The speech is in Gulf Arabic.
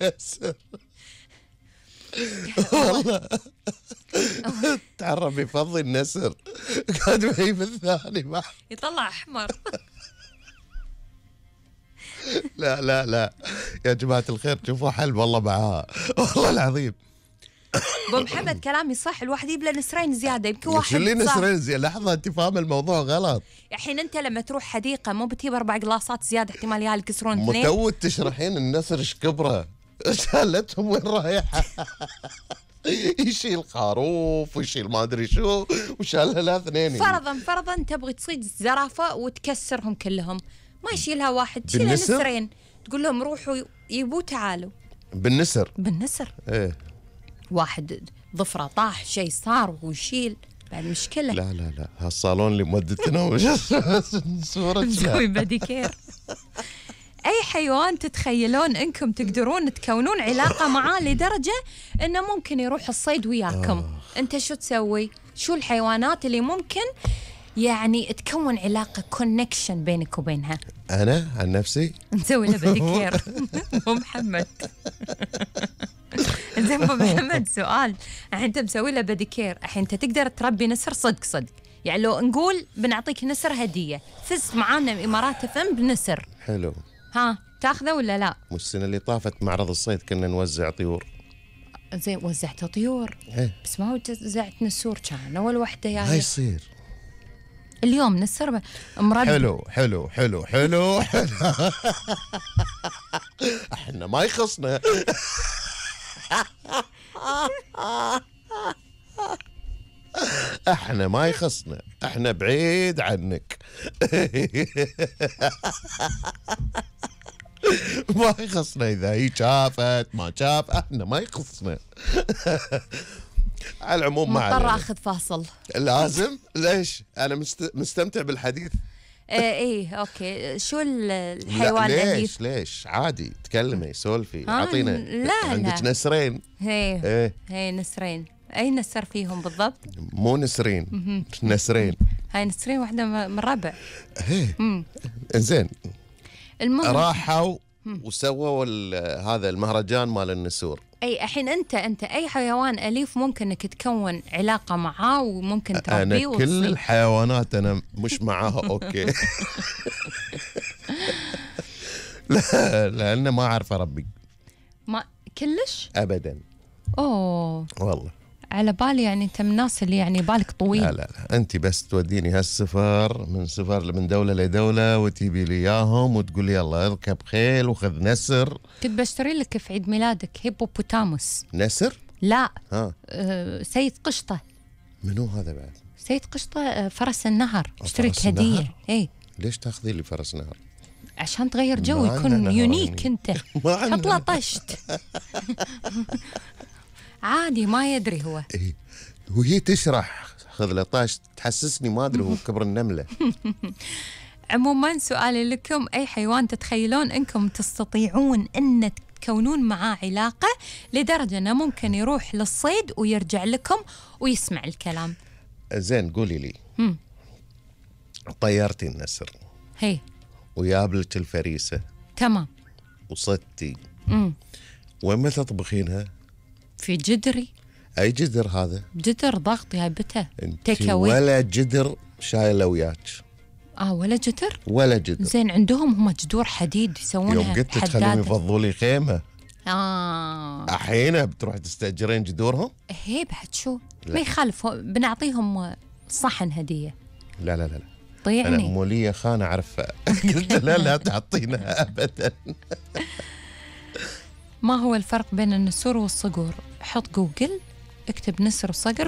نسر والله تعرف يفضي النسر قاعد معي في الثاني يطلع احمر. لا لا لا يا جماعة الخير شوفوا حل والله معاها والله العظيم. ابو محمد كلامي صح، الواحد يبلى نسرين زياده، يمكن واحد شو اللي نسرين زياده؟ لحظه انت فاهم الموضوع غلط. الحين انت لما تروح حديقه مو بتجيب 4 قلاصات زياده احتمال يا يكسرون 2. متوت تشرحين النسر ايش كبره؟ شالتهم وين رايحه؟ يشيل خروف ويشيل ما ادري شو وشالها لا 2. فرضا تبغي تصيد زرافه وتكسرهم كلهم، ما يشيلها واحد، تشيلها نسرين، تقول لهم روحوا يبوا تعالوا. بالنسر ايه واحد ضفره طاح شيء صار ويشيل بعد مشكله. لا لا لا هالصالون اللي مودتنا صورة نسوي بديكير. اي حيوان تتخيلون انكم تقدرون تكونون علاقه معاه لدرجه انه ممكن يروح الصيد وياكم، انت شو تسوي؟ شو الحيوانات اللي ممكن يعني تكون علاقه كونكشن بينك وبينها؟ انا عن نفسي نسوي له بديكير. ابو محمد زين ابو محمد سؤال، الحين انت مسوي له بديكير، الحين انت تقدر تربي نسر صدق يعني لو نقول بنعطيك نسر هديه، فزت معانا امارات FM بنسر، حلو، ها تاخذه ولا لا؟ والسنه اللي طافت معرض الصيد كنا نوزع طيور. زين وزعت طيور بس ما وزعت نسور، كان اول وحده يعني ما يصير اليوم نسر مربي. حلو احنا ما يخصنا. احنا ما يخصنا، احنا بعيد عنك. ما يخصنا اذا هي شافت ما شاف، احنا ما يخصنا. على العموم ما مضطر اخذ فاصل. لازم. ليش؟ انا مستمتع بالحديث. ايه اوكي. شو الحيوان اللي ليش عادي تكلمي سولفي اعطينا. لا عندك نسرين؟ هي نسرين. اي نسر فيهم بالضبط؟ مو نسرين، نسرين. هاي نسرين واحده من ربع. انزين المهم راحوا وسووا هذا المهرجان مال النسور. اي الحين انت اي حيوان اليف ممكن انك تكون علاقه معاه وممكن تربيه انا كل الحيوانات انا مش معاها اوكي. لا لان ما اعرف اربي. ما كلش ابدا. اوه والله على بالي يعني انت من الناس اللي يعني بالك طويل. لا انت بس توديني هالسفر من دوله لدوله وتجيبي لي اياهم وتقول لي يلا اركب خيل وخذ نسر. كنت بشتري لك في عيد ميلادك هيبوبوتاموس. نسر؟ لا سيد قشطه. منو هذا بعد؟ سيد قشطه فرس النهر. اشتريت هديه. اي ليش تاخذي لي فرس نهر؟ عشان تغير جو يكون يونيك. انت حط له طشت. عادي ما يدري هو. وهي تشرح خذ له طاش تحسسني ما ادري هو كبر النمله. عموما سؤالي لكم، اي حيوان تتخيلون انكم تستطيعون ان تكونون معاه علاقه لدرجه انه ممكن يروح للصيد ويرجع لكم ويسمع الكلام؟ زين قولي لي. طيرتي النسر هي ويابلك الفريسه تمام وصدتي وين ما تطبخينها؟ في جدري. اي جدر هذا؟ جدر ضغط جايبته تيك أواي. ولا جدر شايله وياك؟ ولا جدر؟ ولا جدر. زين عندهم هم جدور حديد يسوونها. يوم قلت تخليهم يفضوا لي خيمه. الحين بتروح تستاجرين جدورهم؟ هي بعد شو؟ لا. ما يخالف بنعطيهم صحن هديه. لا طيعني انا موليه خانه اعرفها. قلت لا تعطينا ابدا. ما هو الفرق بين النسور والصقور؟ حط جوجل اكتب نسر وصقر